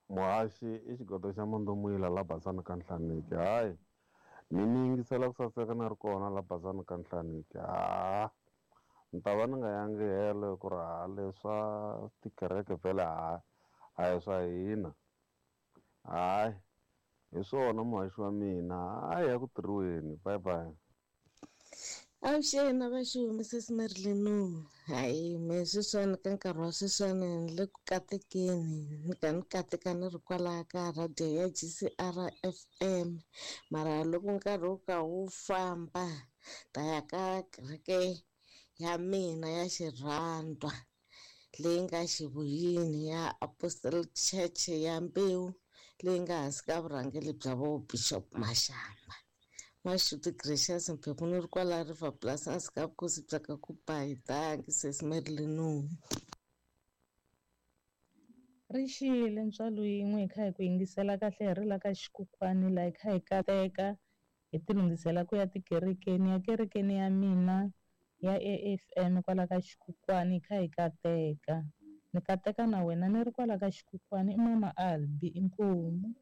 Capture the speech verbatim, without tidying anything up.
Muhaxi i xigodo xa Mandomuyila la Basani ka Nhlaniki. Hayi, mi ni yingisela ku saseka na ri kona la Basani ka Nhlaniki. Ha, ni ta va ni nga yangi helo ku ri ha leswa tikereke vhele ha a hi swa hina. Hayi, hi swona muhaxi wa mina. Hayi ya ku tirhiweni. Bye bye. Avuxeni va xi Missus Marilyn. Hayi me sweswiwani ka nkarhi wa sweswiwani ni le ku katekeni ni ka ni kateka ni ri kwalaya ka radio ya G C R F M mara loko nkarhi wu ka wu famba ta ya ka kereke ya mina ya xirhandwa leyi nga xivuyini ya Apostolic Church ya Mbewu leyi nga hansi ka vurhangeri bya vo Bishop Mashamba. Mashuti Gracious Mphephu ni ri kwala River Plus hansi ka vukosi bya ka ku ba hi danki Sis Marilyn. Ri xile ntswalo yin'we hi kha hi ku yingisela kahle hi ri la ka xikukwani la hi kha hi kateka hi ti lunghisela ku ya tikerekeni ya kerekeni ya mina ya A F M kwala ka xikukwani hi kha hi kateka ni kateka na wena ni ri kwala ka xikukwani i mama Albi inkomu.